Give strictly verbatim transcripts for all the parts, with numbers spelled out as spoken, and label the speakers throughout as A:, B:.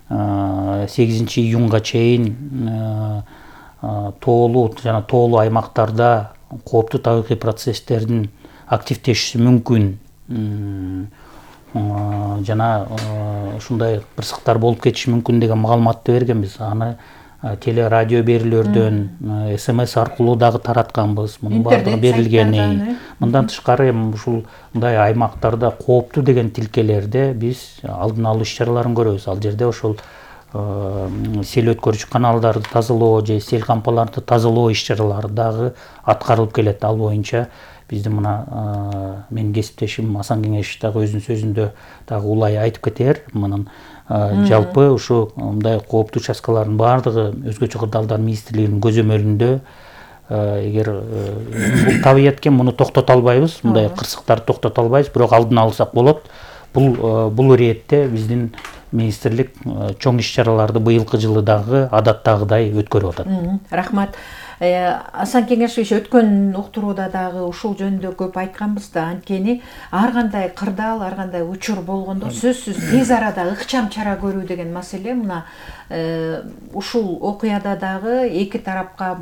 A: сегизинчи июнга чейин тоолуу жана тоолуу аймактарда кооптуу табигый процесстердин активдешиши мүмкүн жана ушундай кырсыктар болуп кетиши мүмкүн деген маалыматты бергенбиз. Аны теле радио берүүлөрдөн, смс аркылуу дагы таратканбыз. Мунун баардыгы берилгени. Мындан тышкары эми ушул мындай аймактарда кооптуу деген тилкелерде биз алдын алуу иш-чараларын көрөбүз. Ал жерде ошол сел өткөрүүчү каналдарды тазалоо же сел кампаларды тазалоо иш-чаралары дагы аткарылып келет. Ал боюнча биздин мына менин кесиптешим Асан Кеңешов дагы өзүнүн сөзүндө дагы улай айтып кетер. Мунун жалпы ушу мындай кооптуу участкалардын баардыгы өзгөчө кырдаалдар министрлигинин көзөмөлүндө. Эгер бул табият экен, муну токтото албайбыз, мындай кырсыктарды токтото албайбыз, бирок алдын алсак болот. Бул бул иретте биздин министрлик чоң иш-чараларды быйылкы жылы дагы адаттагыдай өткөрүп атат.
B: Рахмат. Асан Кеңешович өткөн уктурууда дагы ушул жөнүндө көп айтканбыз да, анткени ар кандай кырдаал, ар кандай учур болгондо сөзсүз тез арада ыкчам чара көрүү деген маселе мына ушул окуяда дагы эки тарапка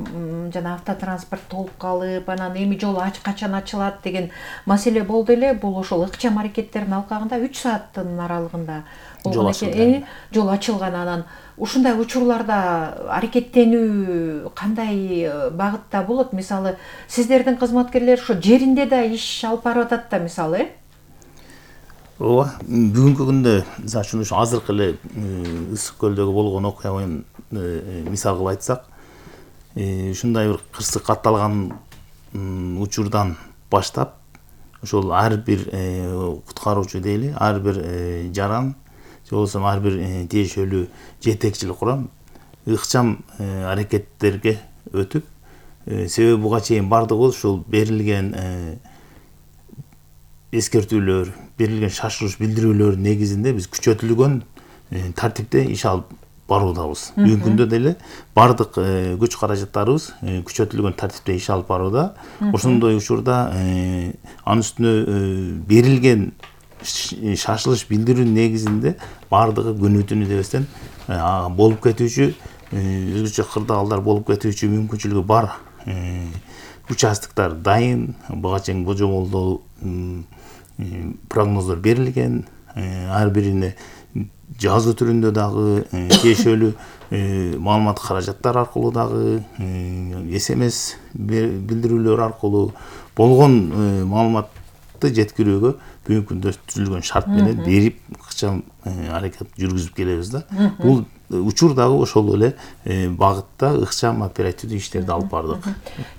B: жана автотранспорт толуп калып, анан эми жол качан ачылат деген маселе болду эле. Бул ошол ыкчам аракеттердин алкагында үч сааттын аралыгында болгон экен. Жол ачылган. Анан ушундай учурларда аракеттенүү кандай багытта болот? Мисалы, сиздердин кызматкерлер ошо жеринде да иш алып барып атат да, мисалы, э?
C: Ооба, бүгүнкү күндө мисалы ушу азыркы эле Ысык көлдөгү болгон окуяны мисал кылып айтсак, ушундай бир кырсык катталган учурдан баштап ошол ар бир куткаруучу дейли, ар бир жаран же болбосо ар бир тиешелүү жетекчилик курам ыкчам аракеттерге өтүп, себеби буга чейин бардыгы ушул берилген эскертүүлөр, берилген шашылыш билдирүүлөр негизинде биз күчөтүлгөн тартипте иш алып баруудабыз. Бүгүнкү күндө деле бардык күч каражаттарыбыз күчөтүлгөн тартипте иш алып барууда. Ошондой учурда анын үстүнө берилген шашылыш билдирүү негизинде бардыгы күнү түнү дебестен болуп кетүүчү, өзгөчө кырдаалдар болуп кетүүчү мүмкүнчүлүгү бар участоктор дайын, буга чейин божомолдоо прогноздор берилген, ар бирине жазуу түрүндө дагы тиешелүү маалымат каражаттар аркылуу дагы, смс билдирүүлөр аркылуу болгон маалыматты жеткирүүгө бүгүнкү күндө түзүлгөн шарт менен берип ыкчам аракет жүргүзүп келебиз да. Бул учур дагы ошол эле багытта ыкчам оперативдүү иштерди алып бардык.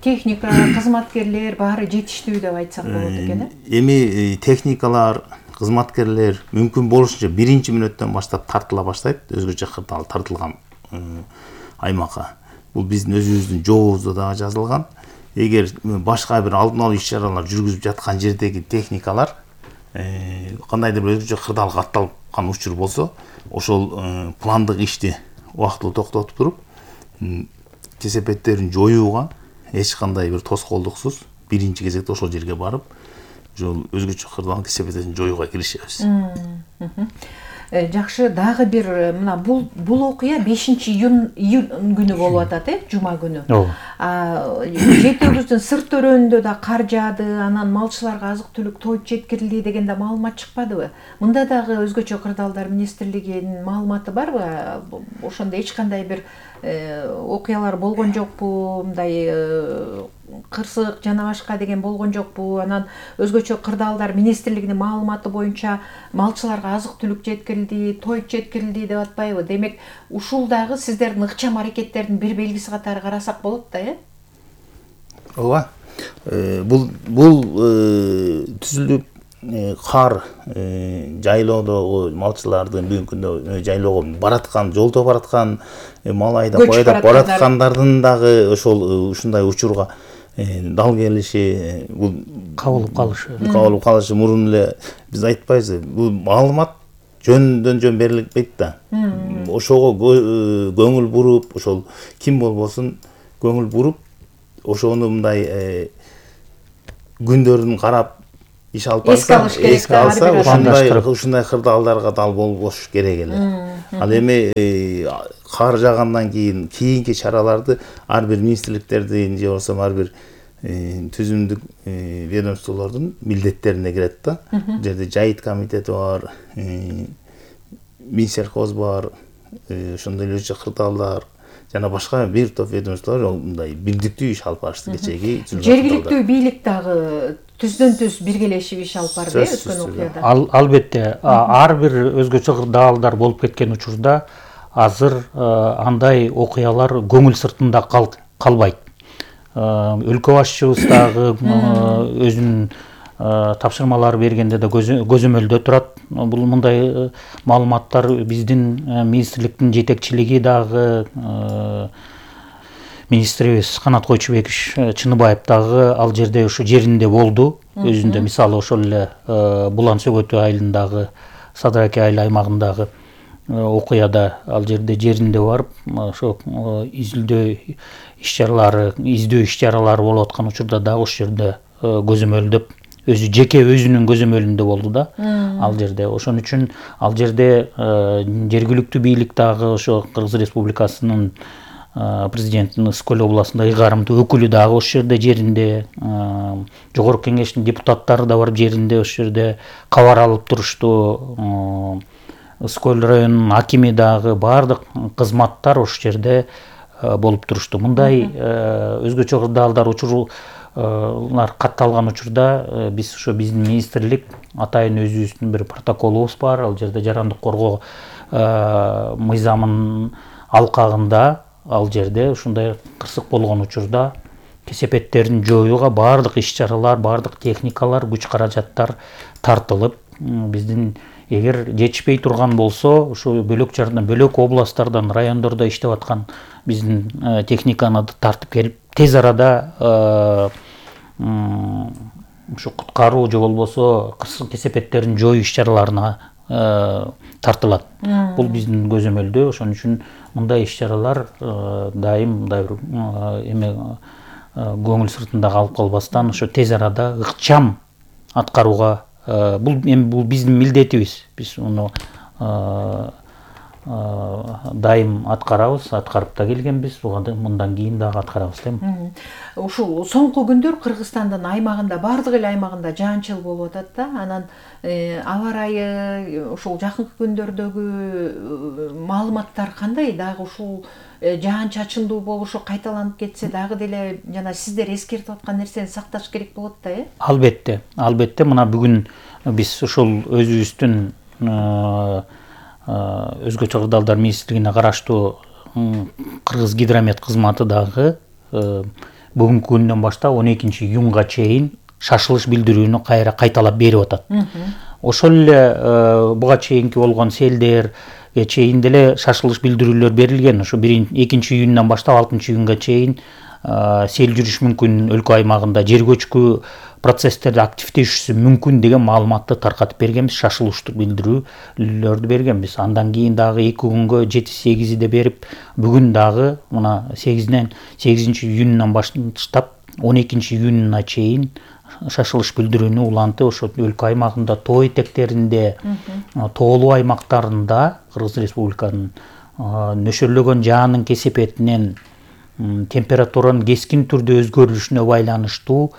B: Техника, кызматкерлер баары жетиштүү деп айтсак болот экен,
C: э? Эми техникалар, кызматкерлер мүмкүн болушунча биринчи мүнөттөн баштап тартыла баштайт, өзгөчө кырдаал тартылган аймакка. Бул биздин өзүбүздүн жобобузда дагы жазылган. Эгер башка бир алдын алуу иш-чаралар жүргүзүп жаткан жердеги техникалар кандайдыр бир өзгөчө кырдаал катталган учур болсо, ошол пландык ишти убактылуу токтотуп туруп, кесепеттерин жоюуга эч кандай бир тоскоолдуксуз биринчи кезекте ошол жерге барып, ошол өзгөчө кырдаал кесепеттерин жоюуга киришебиз.
B: Жакшы, дагы бир мына бул бул окуя бешинчи июнь күнү болуп атат, э, жума күнү. Жетөөбүздүн сырт өрөөнүндө да кар жаады, анан малчыларга азык-түлүк тоюп жеткирилди деген да маалымат чыкпадыбы? Мында дагы өзгөчө кырдаалдар министрлигинин маалыматы барбы? Ошондо эч кандай бир окуялар болгон жокпу? Мындай кырсык жана башка деген болгон жокпу? Анан өзгөчө кырдаалдар министрлигинин маалыматы боюнча малчыларга азык-түлүк жеткирилди, тоюп жеткирилди деп атпайбы? Демек, ушул дагы сиздердин ыкчам аракеттердин бир белгиси катары карасак болот да, э?
C: Ооба. Бул бул түзүлүп кар жайлоодогу малчылардын бүгүнкү күндө жайлоого бараткан, жолдо бараткан, мал айдап, айдап бараткандардын дагы ошол ушундай учурга дал келиши, бул
A: кабылып калышы.
C: Кабылып калышы мурун эле биз айтпайбызбы? Бул маалымат жөндөн жөн берилбейт да. Ошого көңүл буруп, ошол ким болбосун көңүл буруп, ошону мындай күндөрүн карап, иш алып
B: эске
C: барса,
B: алыш керек
C: эске алса,
B: да,
C: ушундай ушундай кырдаалдарга дал болбош керек эле. Ал эми кар жаагандан кийин кийинки чараларды ар бир министрликтердин же болбосо ар бир түзүмдүк ведомстволордун милдеттерине кирет да. Бул жерде жайыт комитети бар, Минсельхоз бар, ошондой эле кырдаалдар жана башка бир топ ведомстволор мындай бирдиктүү иш алып барышты кечеги.
B: Жергиликтүү бийлик дагы түздөн түз биргелешип иш алып барды өткөн окуяда.
A: Албетте, ар бир өзгөчө кырдаалдар болуп кеткен учурда азыр андай окуялар көңүл сыртында калбайт. Өлкө башчыбыз дагы өзүнүн тапшырмалар бергенде да көзөмөлдө турат. Бул мындай маалыматтар биздин министрликтин жетекчилиги дагы министрибиз Канат Койчубеков Чыныбаев дагы ал жерде ушу жеринде болду. Өзүндө мисалы ошол эле Булан Сөгөтү айылындагы Садыраке айыл аймагындагы окуяда ал жерде жеринде барып, ошо изилдөө иш-чаралары, издөө иш-чаралары болуп аткан учурда дагы ошол жерде көзөмөлдөп, өзү жеке өзүнүн көзөмөлүндө болду да ал жерде. Ошон үчүн ал жерде жергиликтүү бийлик дагы ошо Кыргыз Республикасынын президентinin Ысык-Көл областындагы ыйгарымдуу өкүлү дагы ошол жерде жеринде, жогорку кеңештин депутаттары да барып жеринде ошол жерде кабар алып турушту. Ысык-Көл районунун акими дагы баардык кызматтар ошол жерде болуп турушту. Мындай өзгөчө кырдаалдар учурлар катталган учурда биз ошо биздин министрлик атайын өзүбүздүн бир протоколубуз бар. Ал жерде жарандык коргоо мыйзамынын алкагында ал жерде ушундай кырсык болгон учурда кесепеттерин жоюуга баардык иш-чаралар, баардык техникалар, күч каражаттар тартылып, биздин эгер жетишпей турган болсо, ушу бөлөк жардам, бөлөк областтардан, райондордо иштеп аткан биздин техниканы тартып келип, тез арада ушу куткаруу же болбосо кырсык кесепеттерин жоюу иш-чараларына тартылат. Бул биздин көзөмөлдө. Ошон үчүн мындай иш-чаралар дайым мындай бир эме көңүл сыртында калып калбастан ошо тез арада ыкчам аткарууга, бул эми бул биздин милдетибиз. Биз муну дайым аткарабыз, аткарып да келгенбиз, мындан кийин дагы аткарабыз да.
B: Ушул соңку күндөр Кыргызстандын аймагында, бардык эле аймагында жаан-чыл болуп атат да. Анан аба ырайы, ушул жакынкы күндөрдөгү маалыматтар кандай? Дагы ушул жаан-чачындуу болушу кайталанып кетсе дагы деле жана сиздер эскертип аткан нерсени сакташ керек болот да, э?
A: Албетте, албетте. Мына бүгүн биз ушул өзүбүздүн өзгөчө кырдаалдар министрлигине караштуу Кыргыз гидромет кызматы дагы бүгүнкү күндөн баштап он экинчи июнга чейин шашылыш билдирүүнү кайра кайталап берип атат. Ошол эле буга чейинки болгон селдерге чейин деле шашылыш билдирүүлөр берилген. Ошо экинчи июндан баштап алтынчы июнга чейин сел жүрүш мүмкүн өлкө аймагында, жер көчкү процесстерди активдешүүсү мүмкүн деген маалыматты таркатып бергенбиз, шашылыштуу билдирүүлөрдү бергенбиз. Андан кийин дагы эки күнгө жети сегизде берип, бүгүн дагы мына сегизден сегизинчи июндан баштап он экинчи июнуна чейин шашылыш билдирүүнү уланты ошо өлкө аймагында, тоо этектеринде, тоолуу аймактарында Кыргыз Республиканын нөшөрлөгөн жаанын кесепетинен температуранын кескин түрдө өзгөрүшүнө байланыштуу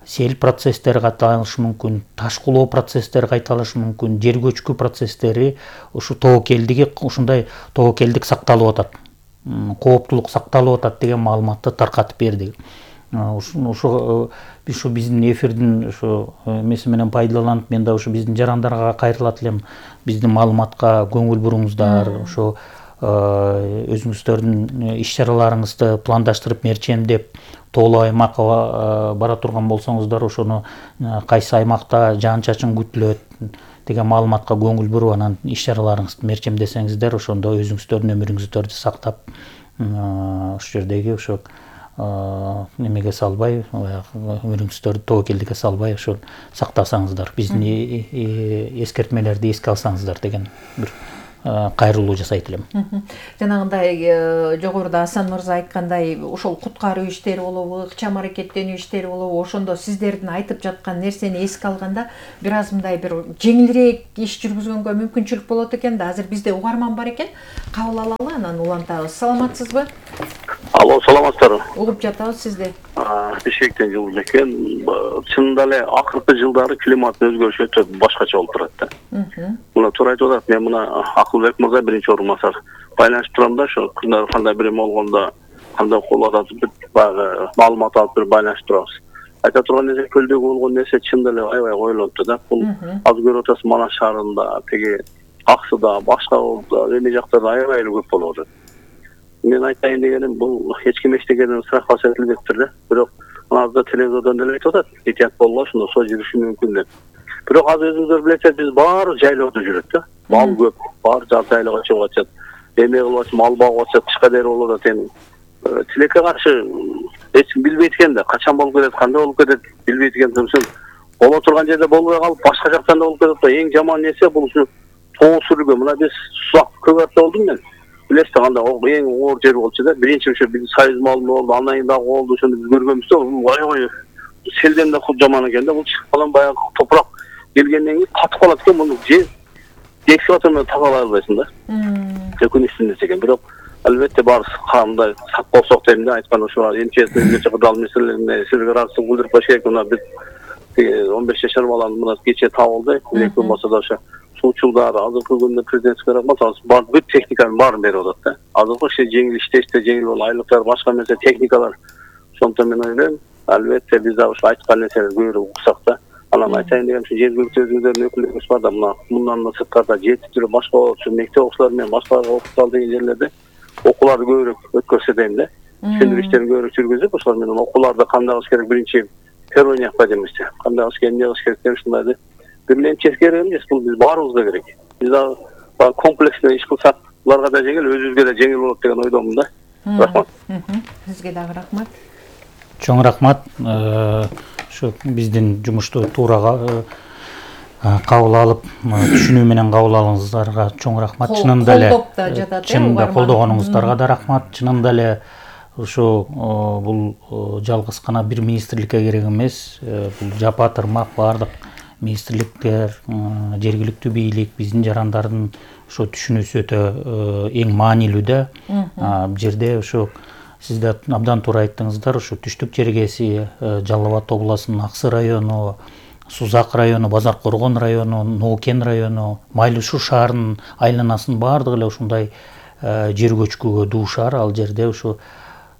A: сел процесстери кайталанышы мүмкүн, ташкылоо процесстери кайталанышы мүмкүн, жер көчкү процесстери, ушу тобокелдиги ушундай тобокелдик сакталып атат, кооптулук сакталып атат деген маалыматты таркатып берди. Ошо биз ушу биздин эфирдин ушу эмеси менен пайдаланып, мен да ушу биздин жарандарга кайрылат элем, биздин маалыматка көңүл буруңуздар, ошо өзүңүздөрдүн иш-чараларыңызды пландаштырып, мерчемдеп, тоолуу аймакка бара турган болсоңуздар, ошону кайсы аймакта жаан-чачын күтүлөт деген маалыматка көңүл буруп, анан иш-чараларыңызды мерчемдесеңиздер, ошондо өзүңүздөрдүн өмүрүңүздөрдү сактап, ошол жердеги ошо немеге салбай, өмүрүңүздөрдү тобокелдикке салбай, ошо сактасаңыздар, биздин эскертмелерди эске алсаңыздар деген бир кайрылуу жасайт элем.
B: Жанагындай жогоруда Асан мырза айткандай ошол куткаруу иштери болобу, ыкчам аракеттенүү иштери болобу, ошондо сиздердин айтып жаткан нерсени эске алганда бир аз мындай бир жеңилирээк иш жүргүзгөнгө мүмкүнчүлүк болот экен да. Азыр бизде угарман бар экен, кабыл алалы, анан улантабыз. Саламатсызбы?
D: Алло, саламатсыздарбы?
B: Угуп жатабыз сизди.
D: Бишкектен жылуу экен. Чынында эле акыркы жылдары климаттын өзгөрүшү өтө башкача болуп турат да. Мына туура айтып атат. Мен мына Акылбек мырза биринчи орун басар байланышып турам да, ошо кандай бир болгондо кандай кол атат баягы маалымат алып туруп байланышып турабыз. Айта турган нерсе көлдөгү болгон нерсе чынында эле аябай коюлупту да. Бул азыр көрүп атасыз, Манас шаарында, теги Аксыда, башка эме жактарда аябай эле көп болуп атат. Мен айтайын дегеним, бул эч ким эчтекеден страхка этилбептир да. Бирок азыр телевизордон деле айтып атат, этият болгула, ошондо соо жүрүшү мүмкүн деп. Бирок азыр өзүңүздөр билесиздер, биз баары жайлоодо жүрөт да. Мал көп, баары жайлоого чыгып атышат. Эме кылып атышат, мал багып атышат, тышка дери болуп атат. Эми тилекке каршы эч ким билбейт экен да, качан болуп кетет, кандай болуп кетет билбейт экен. Сондуктан боло турган жерде болбой калып, башка жактан да болуп кетет да. Эң жаман нерсе бул ушу тоо сүргө. Мына биз Сузак көп арта болдум мен. Билесиз да, кандай эң оор жер болчу да. Биринчи ошо биз Союз малы болду, андан кийин дагы болду, ошону биз көргөнбүз да. Бул аябай селден да жаман экен да. Бул чыгып калган баягы топурак келгенден кийин катып калат экен. Муну же экскаватор менен тазалай албайсың да. Өкүнүчтүү нерсе экен. Бирок албетте бар кандай сак болсок дейм да, айткан ошо эмчесинин кырдаал маселелерине сизге ыраазычылык билдирип коюш керек. Мына биз он беш жашар баланы мына кечээ табылды. Эки болмосо да ошо суучулдар азыркы күндө президентке рахмат, азыр бар бүт техниканын баарын берип атат да. Азыркы иши жеңил иштеште жеңил болуп, айлыктар башка эмесе техникалар. Ошондон мен ойлойм, албетте биз дагы ошо айткан нерселерди көбүрөөк уксак да. Анан айтайын дегеним, ушу жергиликтүү өзүңүздөрдүн өкүлдөрүңүз бар да, мына мындан да сырткарда жети түрү башка болчу мектеп окуучулары менен башкаларга окутал деген жерлерде окууларды көбүрөөк өткөрсө дейм да. Түшүндүрүү иштерин көбүрөөк жүргүзүп, ошол менен окууларды кандай кылыш керек, биринчи первый необходимость эмести, кандай кылыш керек, эмне кылыш керек деп ушундайды бир эмчеси керек эмес, бул биз баарыбызга керек. Биз дагы комплекстүү иш кылсак, буларга да жеңил, өзүбүзгө да жеңил болот деген ойдомун да. Рахмат.
B: Сизге дагы рахмат.
A: Чоң рахмат. Ошо биздин жумушту туура кабыл алып, түшүнүү менен кабыл алганыңыздарга чоң рахмат. Чынында эле чынында колдогонуңуздарга да рахмат. Чынында эле ошо бул жалгыз гана бир министрликке керек эмес, бул жапа тырмак баардык министрликтер, жергиликтүү бийлик, биздин жарандардын ошо түшүнүүсү өтө эң маанилүү да. Бул жерде ошо сиздер абдан туура айттыңыздар, ошо Түштүк чергеси, Жалал Абад областынын Аксы району, Сузак району, Базар Коргон району, Ноокен району, Майлуу шаарынын айланасынын баардыгы эле ушундай жер көчкүгө дуушар. Ал жерде ошо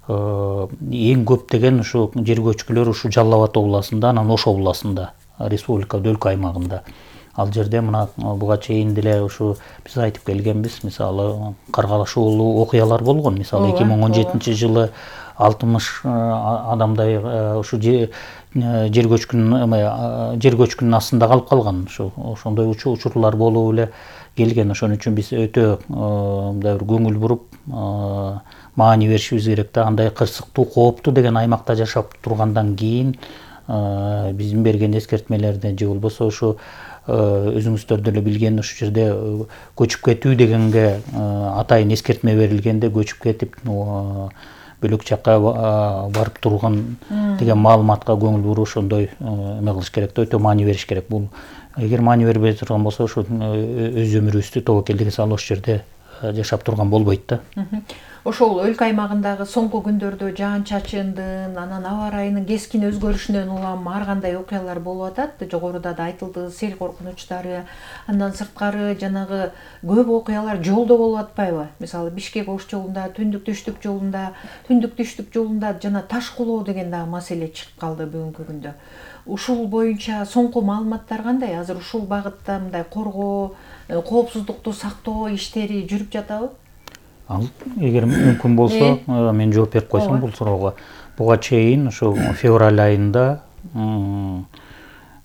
A: эң көп деген ошо жер көчкүлөр ушу Жалал Абад областында, анан Ош областында, республикада, өлкө аймагында. Ал жерде мына буга чейин деле ушу биз айтып келгенбиз, мисалы каргалашуулуу окуялар болгон. Мисалы эки миң он жетинчи жылы алтымыш адамдай ушу жер көчкүнүн жер көчкүнүнүн астында калып калган. Ошо ошондой учурлар болуп эле келген. Ошон үчүн биз өтө мындай бир көңүл буруп маани беришибиз керек да. Андай кырсыктуу, кооптуу деген аймакта жашап тургандан кийин биздин берген эскертмелерди же болбосо ошо өзүңүздөр деле билген ушул жерде көчүп кетүү дегенге атайын эскертме берилгенде көчүп кетип бөлөк жакка барып турган деген маалыматка көңүл буруп ошондой эме кылыш керек да, өтө маани бериш керек. Бул эгер маани бербей турган болсо ошо өз өмүрүбүздү тобокелдиги салып ошол жерде жашап турган болбойт да.
B: Ошол өлкө аймагындагы соңку күндөрдө жаан-чачындын, анан аба ырайынын кескин өзгөрүшүнөн улам ар кандай окуялар болуп атат. Жогоруда да айтылды, сел коркунучтары, андан сырткары жанагы көп окуялар жолдо болуп атпайбы? Мисалы Бишкек-Ош жолунда, Түндүк-Түштүк жолунда, Түндүк-Түштүк жолунда жана таш кулоо деген дагы маселе чыгып калды бүгүнкү күндө. Ушул боюнча соңку маалыматтар кандай? Азыр ушул багытта мындай коргоо, коопсуздукту сактоо иштери жүрүп жатабы?
A: Ал эгер мүмкүн болсо мен жооп берип койсом бул суроого. Буга чейин ошо февраль айында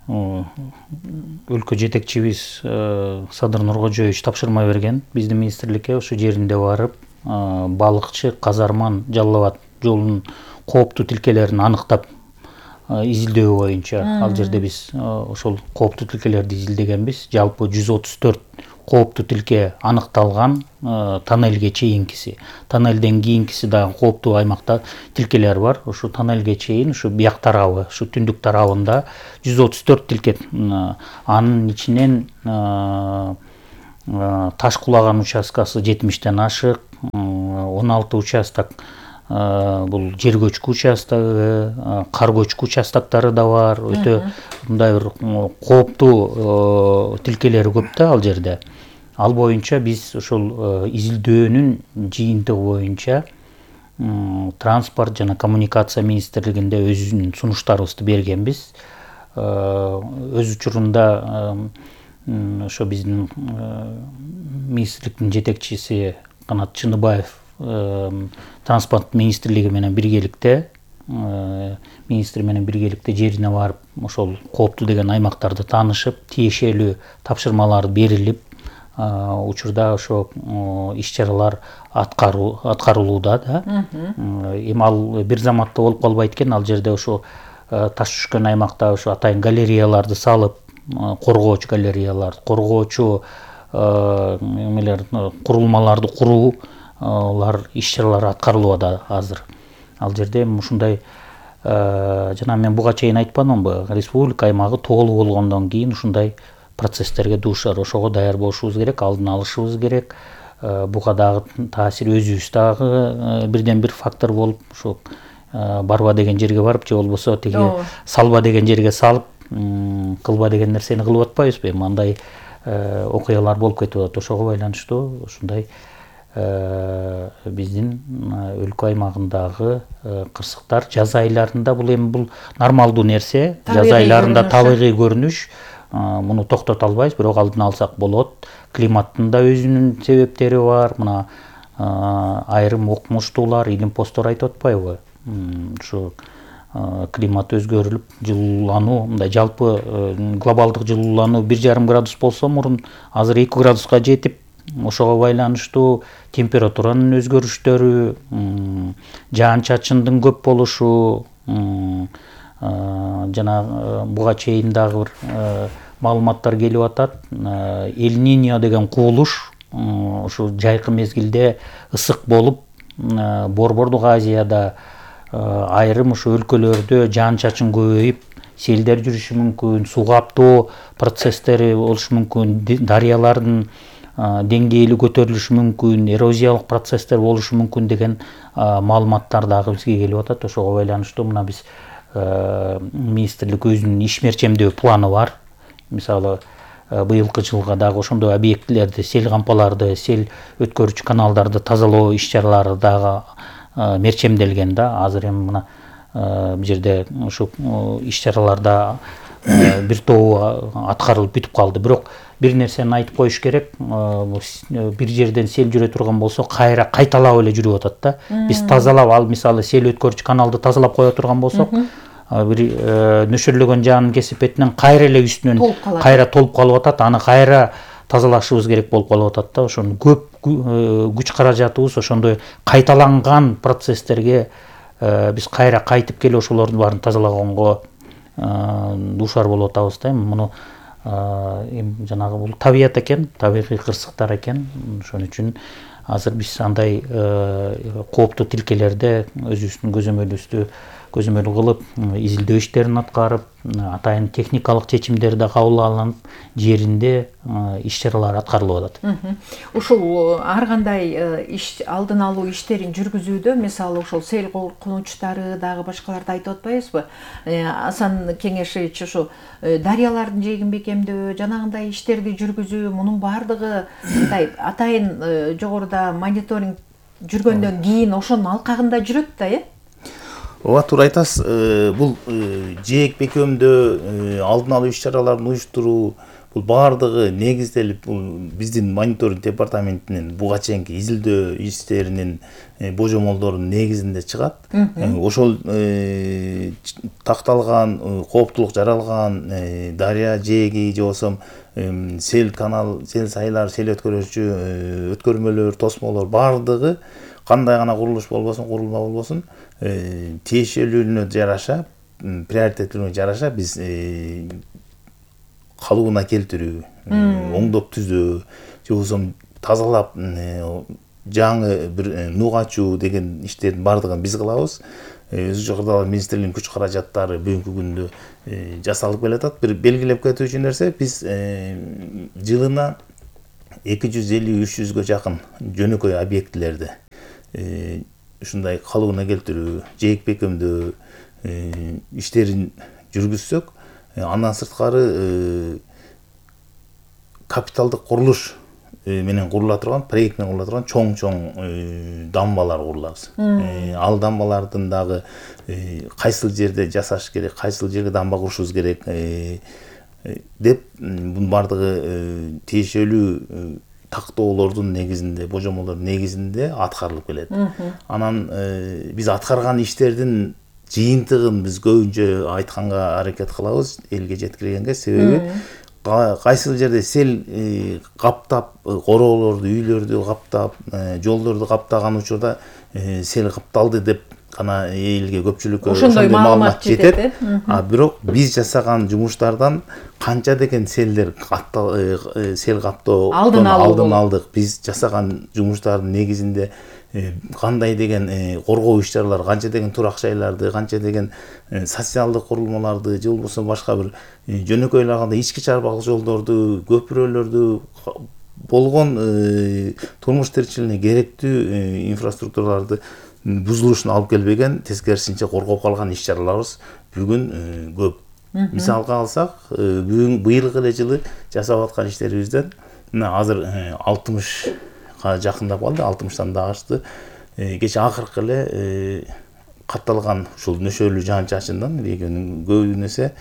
A: өлкө жетекчибиз Садыр Нуркожоевич тапшырма берген биздин министрликке, ошо жеринде барып балыкчы Казарман Жалал Абад жолунун кооптуу тилкелерин аныктап изилдөө боюнча ал жерде биз ошол кооптуу тилкелерди изилдегенбиз. Жалпы жүз отуз төрт кооптуу тилке аныкталган тоннелге чейинкиси. Тоннелден кийинкиси дагы кооптуу аймакта тилкелер бар. Ушу тоннелге чейин ушу бияк тарабы, ушу түндүк тарабында жүз отуз төрт тилке. Анын ичинен таш кулаган участкасы жетимиштен ашык, он алты участок бул жер көчкү участогу, кар көчкү участоктары да бар. Өтө мындай бир кооптуу тилкелери көп да ал жерде. Ал боюнча биз ошол изилдөөнүн жыйынтыгы боюнча транспорт жана коммуникация министрлигинде өзүнүн сунуштарыбызды бергенбиз. Өз учурунда ошо биздин министрликтин жетекчиси Канат Чыныбаев транспорт министрлиги менен биргеликте министр менен биргеликте жерине барып ошол кооптуу деген аймактарды таанышып, тиешелүү тапшырмалар берилип, учурда ошо иш-чаралар аткарылууда да. Эми ал бир заматта болуп калбайт экен. Ал жерде ошо таш түшкөн аймакта ошо атайын галереяларды салып, коргоочу галереялар, коргоочу эмелер, курулмаларды куруулар иш-чаралары аткарылууда азыр. Ал жерде ушундай жана мен буга чейин айтпадымбы, республика аймагы тоолуу болгондон кийин ушундай процесстерге дуушар. Ошого даяр болушубуз керек, алдын алышыбыз керек. Буга дагы таасир өзүбүз дагы бирден бир фактор болуп, ушу барба деген жерге барып, же болбосо тиги салба деген жерге салып, кылба деген нерсени кылып атпайбызбы? Эми андай окуялар болуп кетип атат. Ошого байланыштуу ушундай биздин өлкө аймагындагы кырсыктар жаз айларында, бул эми бул нормалдуу нерсе. Жаз айларында табигый көрүнүш, муну токтото албайбыз, бирок алдын алсак болот. Климаттын да өзүнүн себептери бар. Мына айрым окумуштуулар, илимпоздор айтып атпайбы? Ушу климат өзгөрүлүп, жылуулануу, мындай жалпы глобалдык жылуулануу бир жарым градус болсо мурун, азыр эки градуска жетип, ошого байланыштуу температуранын өзгөрүштөрү, жаан-чачындын көп болушу, жана буга чейин дагы бир маалыматтар келип атат. Эль-Ниньо деген кубулуш ушу жайкы мезгилде ысык болуп, Борбордук Азияда айрым ушу өлкөлөрдө жаан-чачын көбөйүп, селдер жүрүшү мүмкүн, суу каптоо процесстери болушу мүмкүн, дарыялардын деңгээли көтөрүлүшү мүмкүн, эрозиялык процесстер болушу мүмкүн деген маалыматтар дагы бизге келип атат. Ошого байланыштуу мына биз министрлик өзүнүн иш мерчемдөө планы бар. Мисалы, быйылкы жылга дагы ошондой объектилерди, сел кампаларды, сел өткөрүүчү каналдарды тазалоо иш-чаралары дагы мерчемделген да. Азыр эми мына бул жерде ушу иш-чараларда бир тобу аткарылып бүтүп калды. Бирок бир нерсени айтып коюш керек. Бир жерден сел жүрө турган болсо, кайра кайталап эле жүрүп атат да. Биз тазалап, ал мисалы сел өткөрүүчү каналды тазалап кое турган болсок, бир нөшөрлөгөн жаанын кесип бетинен кайра эле үстүнөн кайра толуп калып атат. Аны кайра тазалашыбыз керек болуп калып атат да. Ошону көп күч каражатыбыз ошондой кайталанган процесстерге биз кайра кайтып келип ошолордун баарын тазалаганга дуушар болуп атабыз да. Муну эми жанагы бул табият экен, табигый кырсыктар экен. Ошон үчүн азыр биз андай кооптуу тилкелерде өзүбүздүн көзөмөлүбүздү көзөмөл кылып, изилдөө иштерин аткарып, атайын техникалык чечимдер да кабыл алынып, жеринде иш-чаралар аткарылып атат.
B: Ушул ар кандай иш алдын алуу иштерин жүргүзүүдө, мисалы ошол сел коркунучтары дагы башкаларды айтып атпайбызбы? Асан Кеңешевич ушу дарыялардын жээгин бекемдөө, жанагындай иштерди жүргүзүү, мунун баардыгы мындай атайын жогоруда мониторинг жүргөндөн кийин ошонун алкагында жүрөт да, э?
C: Ооба, туура айтасыз. Бул жээк бекемдөө, алдын алуу иш-чараларын уюштуруу, бул баардыгы негизделип, бул биздин мониторинг департаментинин буга чейинки изилдөө иштеринин божомолдорунун негизинде чыгат. Ошол такталган, кооптулук жаралган дарыя жээги же болбосо сел канал, сел сайлар, сел өткөрүүчү өткөрмөлөр, тосмолор баардыгы кандай гана курулуш болбосун, курулма болбосун, тиешелүүлүгүнө жараша, приоритеттүүлүгүнө жараша биз калыбына келтирүү, оңдоп түзөө, же болбосо тазалап жаңы бир нуг ачуу деген иштердин баардыгын биз кылабыз. Өзгөчө кырдаал министрлигинин күч каражаттары бүгүнкү күндө жасалып келатат. Бир белгилеп кетүүчү нерсе, биз жылына эки жүз элүү үч жүзгө жакын жөнөкөй объектилерди ушундай калыбына келтирүү, жээк бекемдөө иштерин жүргүзсөк, андан сырткары капиталдык курулуш менен курула турган, проект менен курула турган чоң-чоң дамбалар курулабыз. Ал дамбалардын дагы кайсыл жерде жасаш керек, кайсыл жерге дамба курушубуз керек деп, бунун баардыгы тиешелүү тактоолордун негизинде, божомолдордун негизинде аткарылып келет. Анан биз аткарган иштердин жыйынтыгын биз көбүнчө айтканга аракет кылабыз элге жеткиргенге, себеби кайсыл жерде сел каптап, короолорду, үйлөрдү каптап, жолдорду каптаган учурда сел капталды деп гана элге, көпчүлүккө ошондой маалымат жетет. А бирок биз жасаган жумуштардан канча деген селдер сел каптоо алдын алдык. Биз жасаган жумуштардын негизинде кандай деген коргоо иш-чаралар, канча деген турак жайларды, канча деген социалдык курулмаларды, же болбосо башка бир жөнөкөй эле алганда ички чарбак жолдорду, көпүрөлөрдү, болгон турмуш тиричилигине керектүү инфраструктураларды бузулушуна алып келбеген, тескерисинче коргоп калган иш-чараларыбыз бүгүн көп. Мисалга алсак, бүгүн быйылкы эле жылы жасап аткан иштерибизден мына азыр алтымышка жакындап калды, алтымыштан да ашты. Кече акыркы эле катталган ушул нөшөлүү жаан-чачындан региондун көбүнесе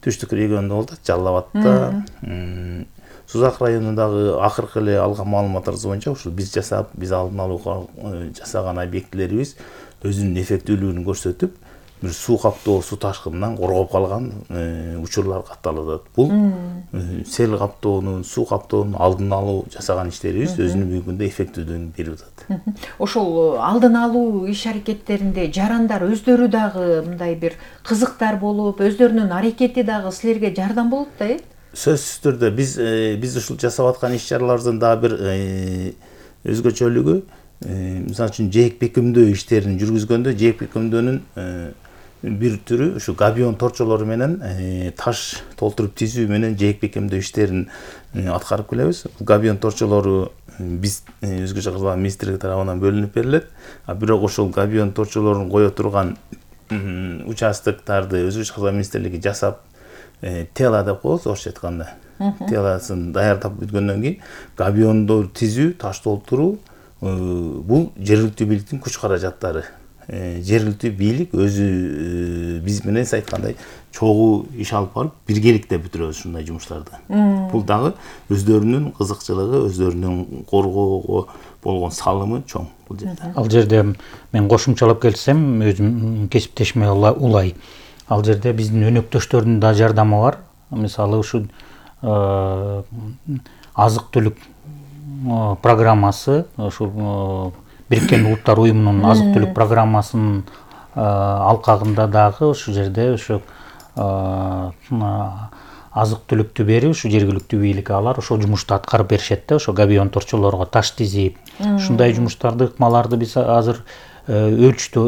C: түштүк регионунда болот, Жалал абадта, Сузак районундагы акыркы эле алган маалыматтарыбыз боюнча ушул биз жасап, биз алдын алууга жасаган объектилерибиз өзүнүн эффектүүлүгүн көрсөтүп, бир суу каптоо, суу ташкынынан коргоп калган учурлар катталып атат. Бул сел каптоонун, суу каптоонун алдын алуу жасаган иштерибиз өзүнүн бүгүнкү күндө эффектүүлүгүн берип атат.
B: Ошол алдын алуу иш-аракеттеринде жарандар өздөрү дагы мындай бир кызыктар болуп, өздөрүнүн аракети дагы силерге жардам болот да, э?
C: Сөзсүз түрдө биз биз ушул жасап аткан иш-чараларыбыздын дагы бир өзгөчөлүгү, мисалы үчүн жээк бекемдөө иштерин жүргүзгөндө, жээк бекемдөөнүн бир түрү ушу габион торчолору менен таш толтуруп тизүү менен жээк бекемдөө иштерин аткарып келебиз. Габион торчолору биз өзгөчө кырдаал министрлиги тарабынан бөлүнүп берилет. А бирок ошол габион торчолорун кое турган участоктарды өзгөчө кырдаал министрлиги жасап, тела деп коебуз, орусча айтканда. Теласын даярдап бүткөндөн кийин габионду тизүү, таш толтуруу бул жергиликтүү бийликтин күч каражаттары. Жергиликтүү бийлик өзү биз менен айткандай чогуу иш алып барып, биргеликте бүтүрөбүз ушундай жумуштарды. Бул дагы өздөрүнүн кызыкчылыгы, өздөрүнүн коргоого болгон салымы чоң бул жерде.
A: Ал жерде мен кошумчалап келсем, өзүм кесиптешиме улай. Ал жерде биздин өнөктөштөрдүн да жардамы бар. Мисалы ушу азык-түлүк программасы, ушул Бириккен Улуттар уюмунун азык-түлүк программасынын алкагында дагы ушу жерде ушу азык-түлүктү берип, ушу жергиликтүү бийлик алар ошол жумушту аткарып беришет да, ошо габион торчолорго таш тизип. Ушундай жумуштарды, ыкмаларды биз азыр өлчүтүп,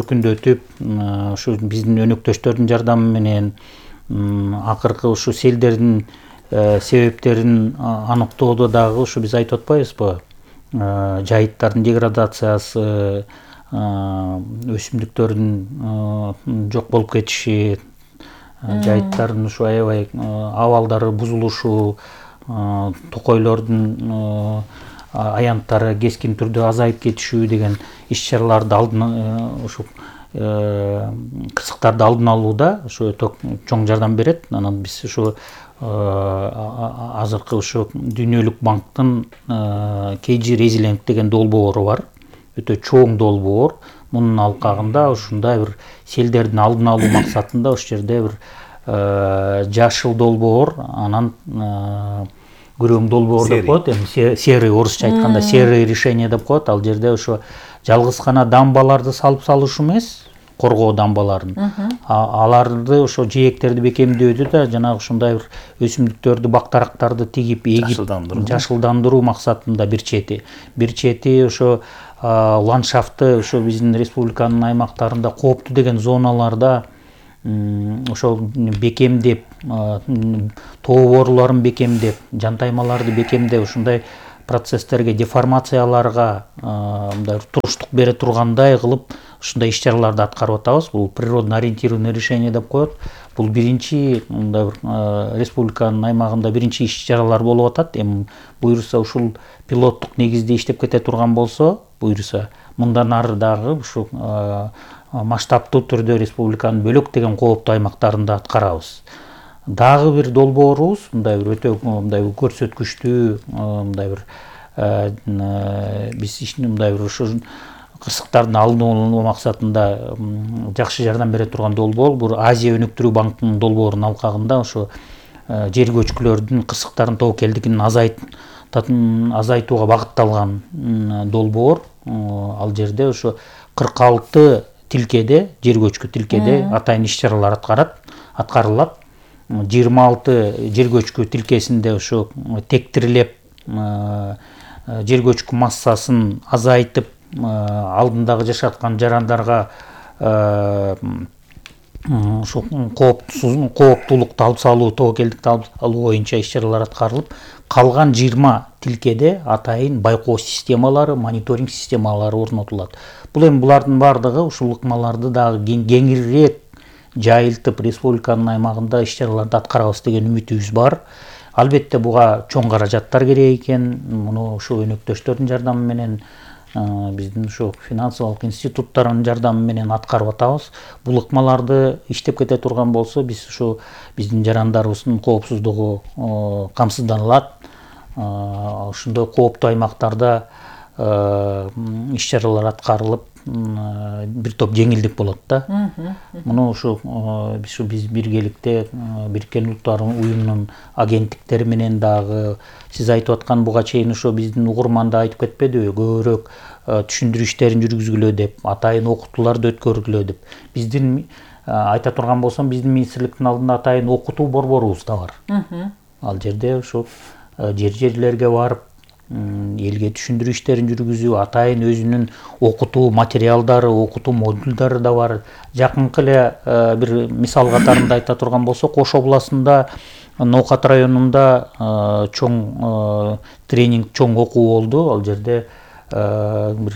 A: өркүндөтүп, ушу биздин өнөктөштөрдүн жардамы менен акыркы ушу селдердин себептерин аныктоодо дагы ушу биз айтып атпайбызбы? Жайыттардын деградациясы, өсүмдүктөрдүн жок болуп кетиши, жайыттардын ушу аябай абалдары бузулушу, токойлордун аянттары кескин түрдө азайып кетишүү деген иш-чараларды алдын ушу кырсыктарды алдын алууда ушу өтө чоң жардам берет. Анан биз ушу азыркы ушу Дүйнөлүк банктын кей жи Резилинг деген долбоору бар. Өтө чоң долбоор. Мунун алкагында ушундай бир селдердин алдын алуу максатында ушул жерде бир жашыл долбоор, анан күрөң долбоор деп коет, эми серый, орусча айтканда серый решение деп коет. Ал жерде ошо жалгыз гана дамбаларды салып салыш эмес, коргоо дамбаларын. Аларды ошо жээктерди бекемдөөдү да жанагы ушундай бир өсүмдүктөрдү, бактарактарды тигип, эгип жашылдандыруу максатында бир чети. Бир чети ошо ландшафтты ошо биздин республиканын аймактарында кооптуу деген зоналарда ошол бекемдеп, тоо бооруларын бекемдеп, жантаймаларды бекемдеп, ушундай процесстерге, деформацияларга мындай туруштук бере тургандай кылып ушундай иш-чараларды аткарып атабыз. Бул природно ориентированный решение деп коет. Бул биринчи мындай бир республиканын аймагында биринчи иш-чаралар болуп атат. Эми буюрса ушул пилоттук негизде иштеп кете турган болсо, буюрса мындан ары дагы ушул масштабтуу түрдө республиканын бөлөктөгөн кооптуу аймактарында аткарабыз. Дагы бир долбоорубуз мындай бир өтө мындай көрсөткүчтүү мындай бир биз мындай бир ушу кырсыктардын алдын алуу максатында жакшы жардам бере турган долбоор бул Азия өнүктүрүү банкынын долбоорунун алкагында ошо жер көчкүлөрдүн кырсыктардын тобокелдигин азайтууга багытталган долбоор. Ал жерде ошо кырк алты тилкеде, жер көчкү тилкеде атайын иш-чаралар аткарат, аткарылат. жыйырма алты жер көчкү тилкесинде ошо тектирилеп, жер көчкү массасын азайтып, алдындагы жашаткан жарандарга ошо кооптуулукту алып салуу, тобокелдикти алып салуу боюнча иш-чаралар аткарылып, калган жыйырма тилкеде атайын байкоо системалары, мониторинг системалары орнотулат. Бул эми булардын бардыгы ушул ыкмаларды дагы кеңирээк жайылтып республиканын аймагында иш-чараларды аткарабыз деген үмүтүбүз бар. Албетте буга чоң каражаттар керек экен. Муну ошо өнөктөштөрдүн жардамы менен, биздин ошо финансылык институттардын жардамы менен аткарып атабыз. Бул ыкмаларды иштеп кете турган болсо, биз ошо биздин жарандарыбыздын коопсуздугу камсызданылат. Ошондой кооптуу аймактарда иш-чаралар аткарылып, бир топ жеңилдик болот да. Муну ушу биз биргеликте Бириккен Улуттар уюмунун агенттиктери менен дагы сиз айтып аткан буга чейин ошо биздин угурманда айтып кетпедиби, көбүрөөк түшүндүрүү иштерин жүргүзгүлө деп, атайын окутууларды өткөргүлө деп. Биздин айта турган болсом, биздин министрликтин алдында атайын окутуу борборубуз да бар. Ал жерде ошо жер-жерлерге барып, элге түшүндүрүү иштерин жүргүзүү, атайын өзүнүн окутуу материалдары, окутуу модулдары да бар. Жакынкы эле бир мисал катарында айта турган болсок, Ош областында, Ноокат районунда чоң тренинг, чоң окуу болду. Ал жерде бир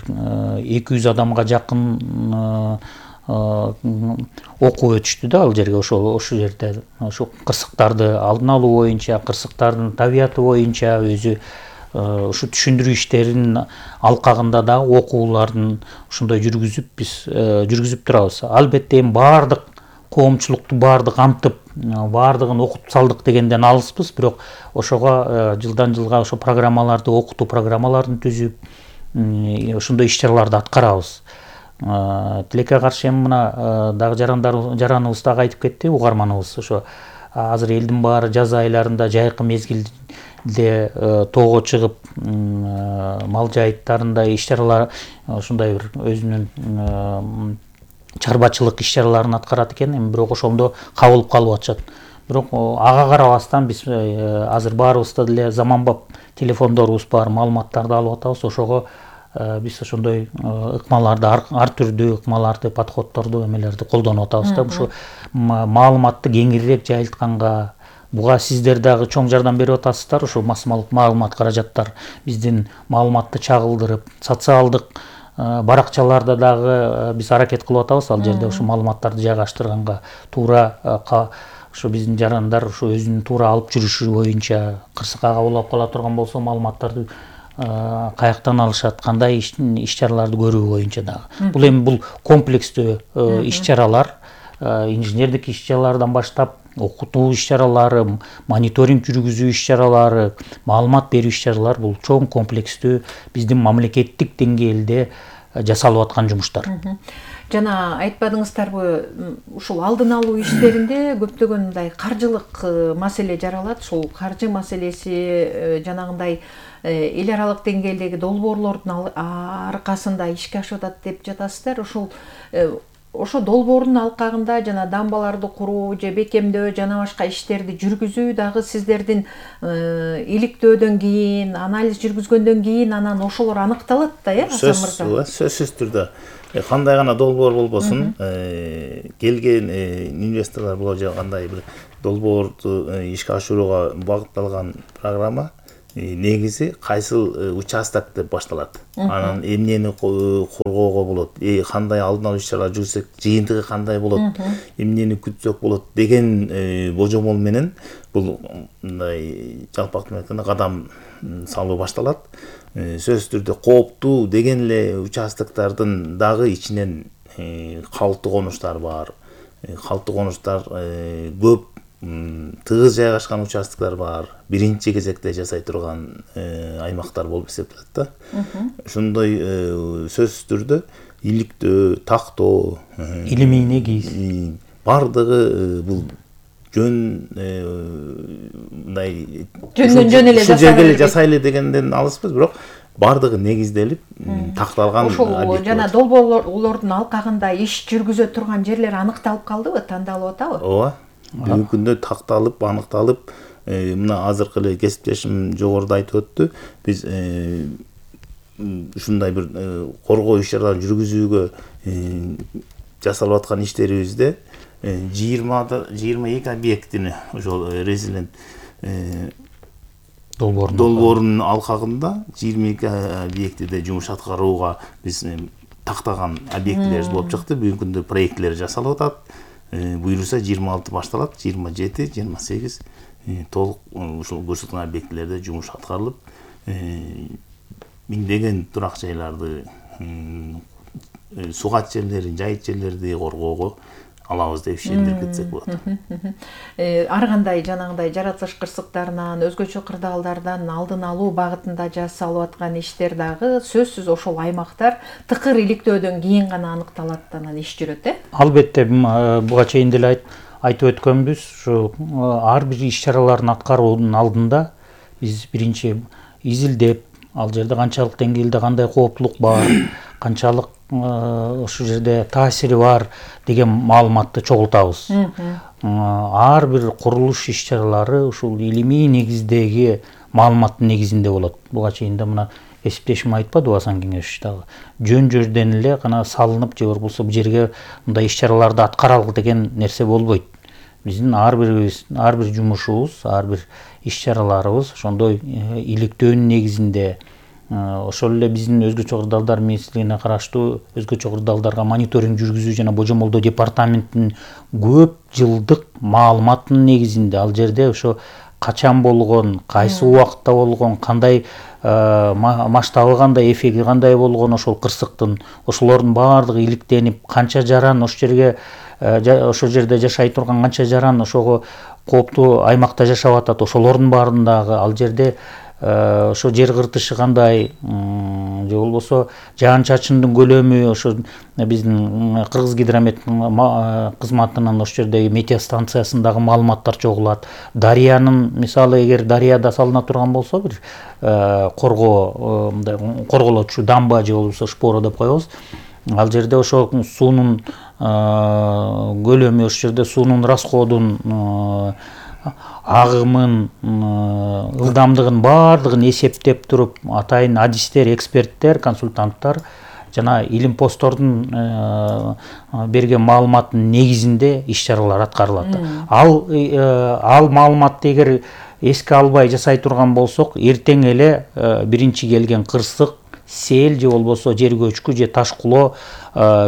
A: эки жүз адамга жакын окуу өтүштү да ал жерге. Ошол ошол жерде ошо кырсыктарды алдын алуу боюнча, кырсыктардын табияты боюнча өзү ушу түшүндүрүү иштеринин алкагында дагы окуулардын ушундай жүргүзүп биз жүргүзүп турабыз. Албетте эми баардык коомчулукту баардык камтып, баардыгын окутуп салдык дегенден алыспыз, бирок ошого жылдан жылга ошо программаларды, окутуу программаларын түзүп, ошондой иш-чараларды аткарабыз. Тилекке каршы эми мына дагы жарандар жараныбыз дагы айтып кетти, угарманыбыз. Ошо азыр элдин баары жаз айларында, жайкы мезгилде тоого чыгып, мал жайыттарында иш-чаралар, ушундай бир өзүнүн чарбачылык иш-чараларын аткарат экен, эми бирок ошондо кабылып калып атышат. Бирок ага карабастан биз азыр баарыбызда деле заманбап телефондорубуз бар, маалыматтарды алып атабыз. Ошого биз ошондой ыкмаларды, ар түрдүү ыкмаларды, подходторду, эмелерди колдонуп атабыз да. Ушу маалыматты кеңирээк жайылтканга, буга сиздер дагы чоң жардам берип атасыздар. Ошо масмалык маалымат каражаттар биздин маалыматты чагылдырып, социалдык баракчаларда дагы биз аракет кылып атабыз. Ал жерде ошо маалыматтарды жайгаштырганга туура ошо биздин жарандар ошо өзүнүн туура алып жүрүшү боюнча, кырсыкка кабыл кала турган болсо маалыматтарды каяктан алышат, кандай иш-чараларды көрүү боюнча дагы. Бул эми бул комплекстүү иш-чаралар, инженердик иш-чаралардан баштап, окутуу иш-чаралары, мониторинг жүргүзүү иш-чаралары, маалымат берүү иш-чаралары, бул чоң комплекстүү биздин мамлекеттик деңгээлде жасалып аткан жумуштар.
B: Жана айтпадыңыздарбы, ушул алдын алуу иштеринде көптөгөн мындай каржылык маселе жаралат. Ушул каржы маселеси жанагындай эл аралык деңгээлдеги долбоорлордун аркасында ишке ашып атат деп жатасыздар. Ушул ошо долбоордун алкагында жана дамбаларды куруу же бекемдөө жана башка иштерди жүргүзүү дагы сиздердин иликтөөдөн кийин, анализ жүргүзгөндөн кийин анан ошолор аныкталат да, э, Асан мырза?
C: Сөзсүз түрдө. Кандай гана долбоор болбосун, келген инвесторлор боло же кандай бир долбоорду ишке ашырууга багытталган программа негизи кайсыл участок деп башталат. Анан эмнени коргоого болот, кандай алдын алуу иш-чаралар жүргүзсөк, жыйынтыгы кандай болот, эмнени күтсөк болот деген божомол менен бул мындай жалпактуу айтканда кадам салуу башталат. Сөзсүз түрдө кооптуу деген эле участоктордун дагы ичинен калктуу конуштар бар. Калктуу конуштар көп, тыгыз жайгашкан участоктор бар. Биринчи кезекте жасай турган аймактар болуп эсептелет да. Ошондой сөзсүз түрдө иликтөө, тактоо,
A: илимий негиз
C: бардыгы бул жөн мындай
B: жөндөн жөн эле
C: ушул жерге эле жасайлы дегенден алыспыз, бирок бардыгы негизделип такталган.
B: Ошол жана долбоорлордун алкагында иш жүргүзө турган жерлер аныкталып калдыбы, тандалып атабы?
C: Ооба. Бүгүнкү күндө такталып, аныкталып, мына азыркы эле кесиптешим жогоруда айтып өттү. Биз ушундай бир коргоо иш-чараларын жүргүзүүгө жасалып аткан иштерибизде жыйырма эки объектини ошол резилент долбоорунун алкагында жыйырма эки объектиде жумуш аткарууга биз тактаган объектилерибиз болуп чыкты. Бүгүнкү күндө проекттер жасалып атат. Буюрса жыйырма алты башталат, жыйырма жети, жыйырма сегиз толук ушул көрсөтүлгөн объектилерде жумуш аткарылып, миңдеген турак жайларды, сугат жерлерин, жайыт жерлерди коргоого алабыз деп ишендирип кетсек болот.
B: Ар кандай жанагындай жаратылыш кырсыктарынан, өзгөчө кырдаалдардан алдын алуу багытында жасалып аткан иштер дагы сөзсүз ошол аймактар тыкыр иликтөөдөн кийин гана аныкталат, анан иш жүрөт, э?
A: Албетте, буга чейин деле айтып өткөнбүз, ушу ар бир иш-чараларын аткаруунун алдында биз биринчи изилдеп, ал жерде канчалык деңгээлде кандай кооптулук бар, канчалык ошол жерде таасири бар деген маалыматты чогултабыз. Ар бир курулуш иш-чаралары ушул илимий негиздеги маалыматтын негизинде болот. Буга чейин да мына кесиптешим айтпадыбы Асан кеңеш дагы. Жөн-жөрдөн эле гана салынып же болбосо бул жерге мындай иш-чараларды аткаралы деген нерсе болбойт. Биздин ар бирибиз, ар бир жумушубуз, ар бир иш-чараларыбыз ошондой иликтөөнүн негизинде, ошол эле биздин өзгөчө кырдаалдар министрлигине караштуу өзгөчө кырдаалдарга мониторинг жүргүзүү жана божомолдоо департаментинин көп жылдык маалыматынын негизинде ал жерде ошо качан болгон, кайсы убакытта болгон, кандай масштабы кандай, эффекти кандай болгон ошол кырсыктын, ошолордун баардыгы иликтенип, канча жаран ошол жерге ошол жерде жашай турган канча жаран ошого кооптуу аймакта жашап атат, ошолордун баарындагы ал жерде ошо жер кыртышы кандай, же болбосо жаан-чачындын көлөмү, ошо биздин Кыргыз гидромет кызматынын ошол жердеги метеостанциясындагы маалыматтар чогулат. Дарыянын, мисалы, эгер дарыяда салына турган болсо бир коргоо, мындай корголочу дамба же болбосо шпора деп коебуз. Ал жерде ошо суунун көлөмү, ошол жерде суунун расходун, агымын, ылдамдыгын баардыгын эсептеп туруп, атайын адистер, эксперттер, консультанттар жана илим посттордун берген маалыматтын негизинде иш-чаралар аткарылат. Ал ал маалыматты эгер эске албай жасай турган болсок, эртең эле биринчи келген кырсык, сел же болбосо жер көчкү же ташкулоо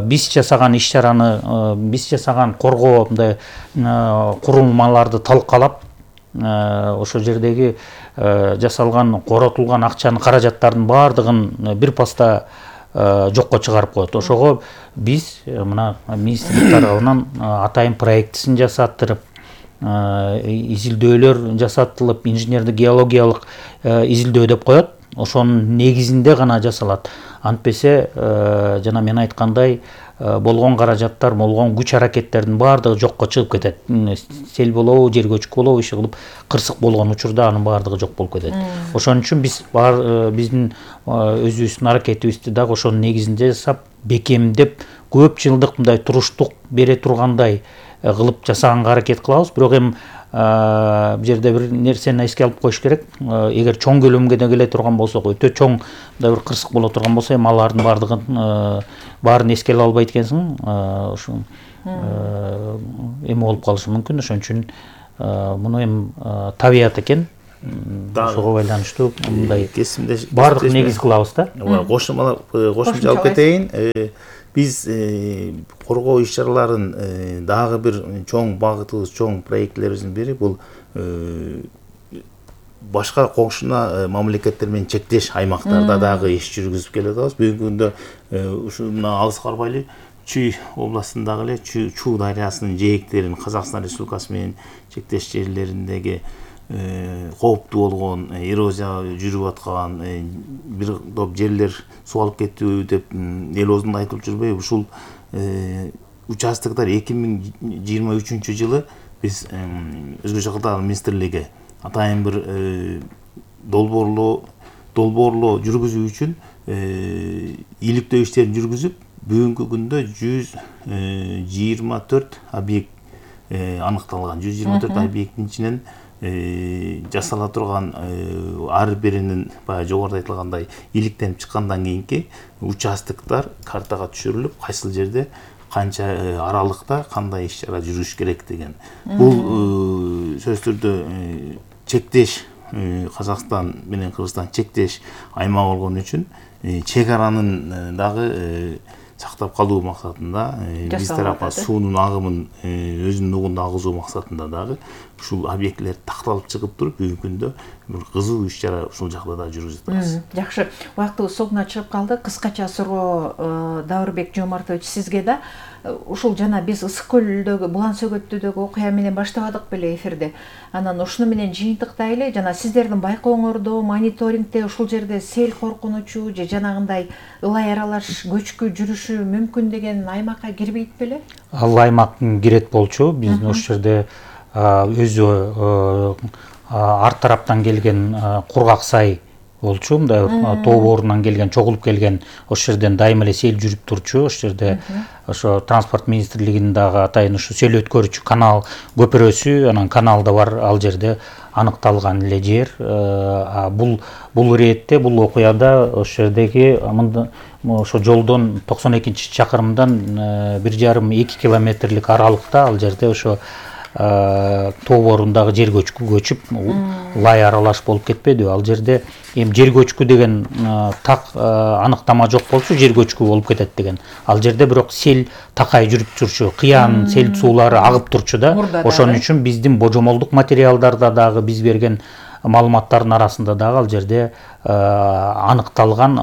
A: биз жасаган иш-чараны, биз жасаган коргоо мындай курулмаларды талкалап, ошол жердеги жасалган, коротулган акчанын, каражаттардын баардыгын бир паста жокко чыгарып коет. Ошого биз мына министрлик тарабынан атайын проектисин жасаттырып, изилдөөлөр жасатылып, инженердик геологиялык изилдөө деп коет. Ошонун негизинде гана жасалат. Антпесе жана мен айткандай болгон каражаттар, болгон күч аракеттердин баардыгы жокко чыгып кетет. Сел болобу, жер көчкү болобу, иши кылып кырсык болгон учурда анын баардыгы жок болуп кетет. Ошон үчүн биз биздин өзүбүздүн аракетибизди дагы ошонун негизинде жасап, бекемдеп көп жылдык мындай туруштук бере тургандай кылып жасаганга аракет кылабыз. Бирок эми бул жерде бир нерсени эске алып коюш керек. Эгер чоң көлөмгө келе турган болсок, өтө чоң мындай бир кырсык боло турган болсо, эми алардын баардыгын баарын эске ала албайт экенсиң. Ушу эме болуп калышы мүмкүн. Ошон үчүн муну эми табият экен. Ошого байланыштуу мындай баардык негиз кылабыз да.
C: Кошумча кошумча алып кетейин. Биз коргоо иш-чараларын дагы бир чоң багытыбыз, чоң проектлерибиздин бири бул башка коңшуна мамлекеттер менен чектеш аймактарда дагы иш жүргүзүп келе жатабыз. Бүгүнкү күндө ушу мына алыс карбайлы Чүй областындагы эле Чуу дарыясынын жээктерин Казакстан Республикасы менен чектеш жерлериндеги кооптуу болгон эрозия жүрүп аткан бир топ жерлер суу алып кетүү деп эл оозунда айтылып жүрбөйбү? Ушул участоктор эки миң жыйырма үчүнчү жылы биз Өзгөчө кырдаал министрлиги атайын бир долбоорлоо долбоорлоо жүргүзүү үчүн иликтөө иштерин жүргүзүп, бүгүнкү күндө жүз жыйырма төрт объект аныкталган. жүз жыйырма төрт объекттин ичинен жасала турган ар биринин баягы жогоруда айтылгандай иликтенип чыккандан кийинки участоктор картага түшүрүлүп, кайсыл жерде канча аралыкта кандай иш-чара жүрүш керек деген. Бул сөзсүз түрдө чектеш Казакстан менен Кыргызстан чектеш аймак болгон үчүн чек аранын дагы сактап калуу максатында биз тарапка суунун агымын өзүнүн нугунда агызуу максатында дагы ушул объектилер такталып чыгып туруп, бүгүнкү күндө бир кызуу иш-чара ушул жакта да жүргүзүп атабыз.
B: Жакшы, убактыбыз соңуна чыгып калды. Кыскача суроо Даурбек Жомартович сизге да. Ушул жана биз Ысык көлдөгү, Булан сөгөттүүдөгү окуя менен баштабадык беле эфирде. Анан ушуну менен жыйынтыктай эле, жана сиздердин байкооңордо, мониторингде ушул жерде сел коркунучу же жанагындай ылай аралаш көчкү жүрүшү мүмкүн деген аймакка кирбейт беле?
A: Ал аймактын кирет болчу. Биздин ошол жерде өзү арт тараптан келген Кургак сай болчу, мындай тоо боорунан келген, чогулуп келген, ошол жерден дайыма эле сел жүрүп турчу. Ошол жерде ошо транспорт министрлигинин дагы атайын ушу сел өткөрүүчү канал көпүрөсү, анан канал да бар, ал жерде аныкталган эле жер. Бул бул иретте, бул окуяда ошол жердеги ошо жолдон токсон экинчи чакырымдан бир жарым эки километрлик аралыкта ал жерде ошо тоо боорундагы жер көчкү көчүп, лай аралаш болуп кетпедиби? Ал жерде эми жер көчкү деген так аныктама жок болчу, жер көчкү болуп кетет деген. Ал жерде бирок сел такай жүрүп турчу, кыян сел суулары агып турчу да. Ошон үчүн биздин божомолдук материалдарда дагы биз берген маалыматтардын арасында дагы ал жерде аныкталган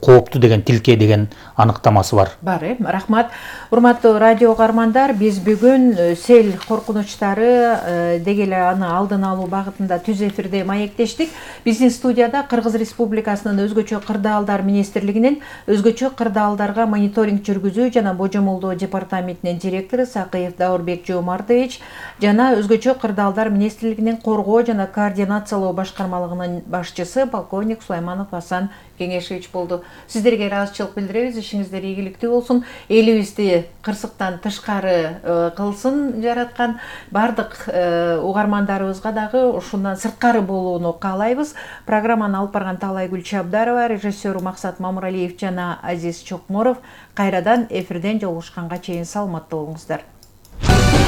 A: кооптуу деген тилке деген аныктамасы бар.
B: Бар, э? Рахмат. Урматтуу радио угармандар, биз бүгүн сел коркунучтары деги эле аны алдын алуу багытында түз эфирде маектештик. Биздин студияда Кыргыз Республикасынын Өзгөчө кырдаалдар министрлигинин Өзгөчө кырдаалдарга мониторинг жүргүзүү жана божомолдоо департаментинин директору Сакыев Даурбек Жомартович жана Өзгөчө кырдаалдар министрлигинин коргоо жана координациялоо башкармалыгынын башчысы полковник Сулайманов Асан Кеңешевич болду. Сиздерге ыраазычылык билдиребиз. Ишиңиздер ийгиликтүү болсун. Элибизди кырсыктан тышкары кылсын жараткан бардык угармандарыбызга дагы ушундан сырткары болууну каалайбыз. Программаны алып барган Таалайгүл Чабдарова, режиссер Максат Мамыралиев жана Азиз Чокморов кайрадан эфирден жолугушканга чейин саламатта болуңуздар.